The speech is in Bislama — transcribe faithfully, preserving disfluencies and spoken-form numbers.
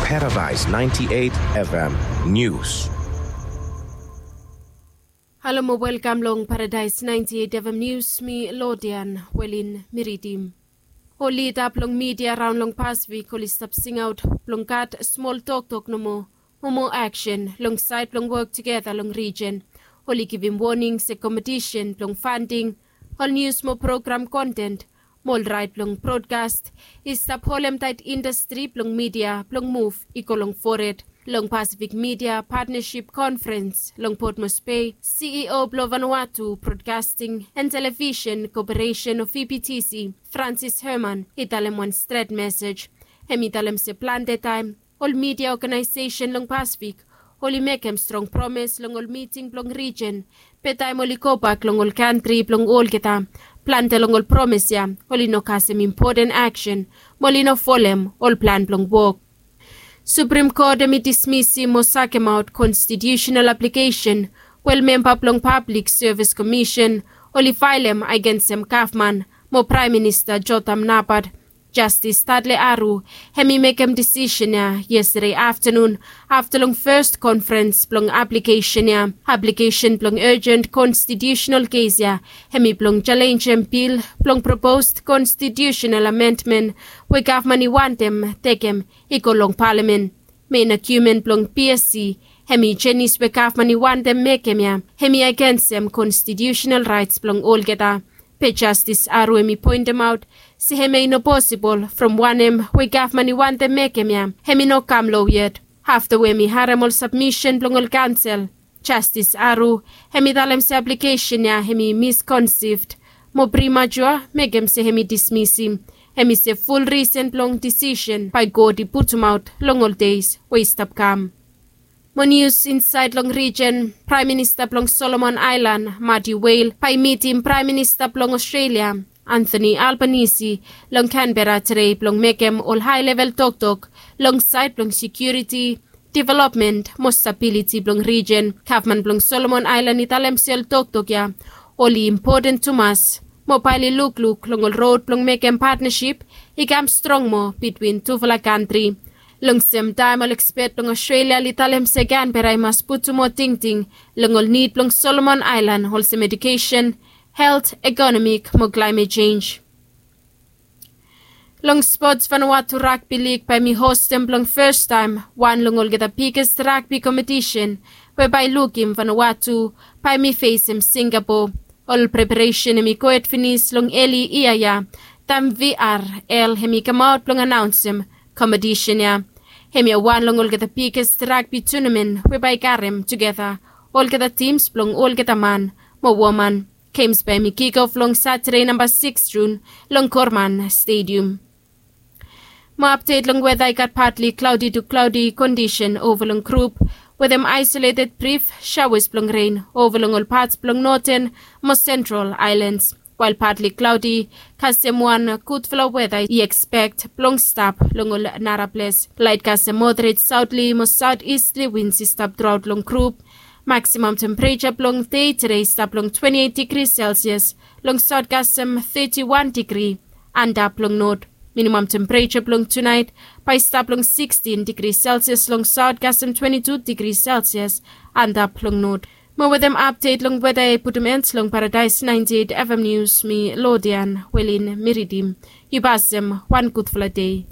Paradise ninety-eight F M News. Halo mo welkam long Paradise ninety-eight F M News, mi Lodian Welin Miridim. Ol lida blong midia raon long Pasifik oli stap singaot blong gat smol toktok nomo mo moa aksen long saed blong wok tugeta long rijen. Oli givim woning se kompetisen blong fanding ol nius mo program konten mo ol rait blong brodkas i stap holem taet indastri blong midia blong muv i go long fored. Long Pasifik Midia Patnasip Konferens long Potmos Bei, C E O blong Vanuatu Brodkasting and Televisen Koperesen o V B T C, Francis Herman, i talem wan stret mesej. Hem i talem se plante taem ol midia oganaesesen long Pasifik oli mekem strong promes long ol miting blong rijen, be taem oli gobak long ol kantri blong olgeta, plante long ol promes ya oli no kasem impoten aksen mo oli no folem ol plan blong wok. Suprim Kot hem i dismisim mo sakemaot konstitiusenal aplikesen we ol memba blong Pablik Sevis Komisen oli faelem agensem gavman mo Praem Minista Jotam Napat. Jastis Tadle Aru hem i mekem disisen ya yestade aftanun afta long fes konferens blong aplikesen ya. Aplikesen blong ejen konstitiusenal kes ya hem i blong jalenjem bil blong propos konstitiusenal amendmen we gavman i wantem tekem i go long palamen. Mein agiumen blong P S C hem i jenis we gavman i wantem mekem ya hem i agensem konstitiusenal raets blong olgeta. Be Jastis Aru hem i poentemaot se hemia i no posibol from wanem we gavman i wantem mekem ya hem i no kam loa yet. Afta we hem i harem ol sabmisen blong ol kaonsel, Jastis Aru hem i talem se aplikesen ya hem i miskonsivd mo primatua mekem se hem i dismisim. Hem i se ful risen blong disisen bae God i putumaot long ol deis we i stap kam. Mo nius insaed long rijen, Praem Minista blong Solomon Aelan, Mati Wel, bae i mitim Praem Minista blong Ostrelia, Anthony Albanese, long Kanbera tede blong mekem ol haelevel toktok long saed blong sekiuriti, developmen mo stabiliti blong rijen. Gavman blong Solomon Aelan i talem se ol toktok ya oli impoten tumas mo bae oli lukluk long ol rod blong mekem patnasip i kam strong moa bitwin tufala kantri. Long semtaem ol ekspet blong Ostrelia oli talem se Kanbera i mas putum moa tingting long ol nid blong Solomon Aelan olsem ejukesen, helt, ekonomik mo klaemet jenj. Long spots, Vanuatu Ragbi Lig bae hem i hostem blong fes taem wan long olgeta biges ragbi kompetisen we bae i lukim Vanuatu bae hem i fesem Singapo. Ol preparesen hem i gohed finis long eli yia ya taem V R L hem i kamaot blong anaonsem kompetisen ya. Hemia wan long olgeta biges ragbi tunamen we bae i karem tugeta olgeta tims blong olgeta man mo woman. Gems bae hem i kikof long Satade namba sikis Jun long Korman Stedium. Mo apdet long weta, i gat patli klaodi tu klaodi kondisen ova long grup wetem aesoleted brif shaoas blong ren ova long ol pat blong noten mo sentral aelans. Wael patli klaodi kasem wan gudfala weta i ekspekt blong stap long ol nara ples. Laet kasem moderet saotli mo saotistli wins i stap truaot long grup. Maksimam tempereja blong dei tede i stap long twenti eit digri selsias, long saot kasem teti wan digri antap long not. Minimam tempereja blong tunaet bae i stap long sikstin digri selsias, long saot kasem twenti tu digri selsias antap long not. Mo wetem apdet long weta i putum en long Paradaes naenti eit FM Nius, mi Lodian Welin Miridim. Yu pasem wan gudfala dei.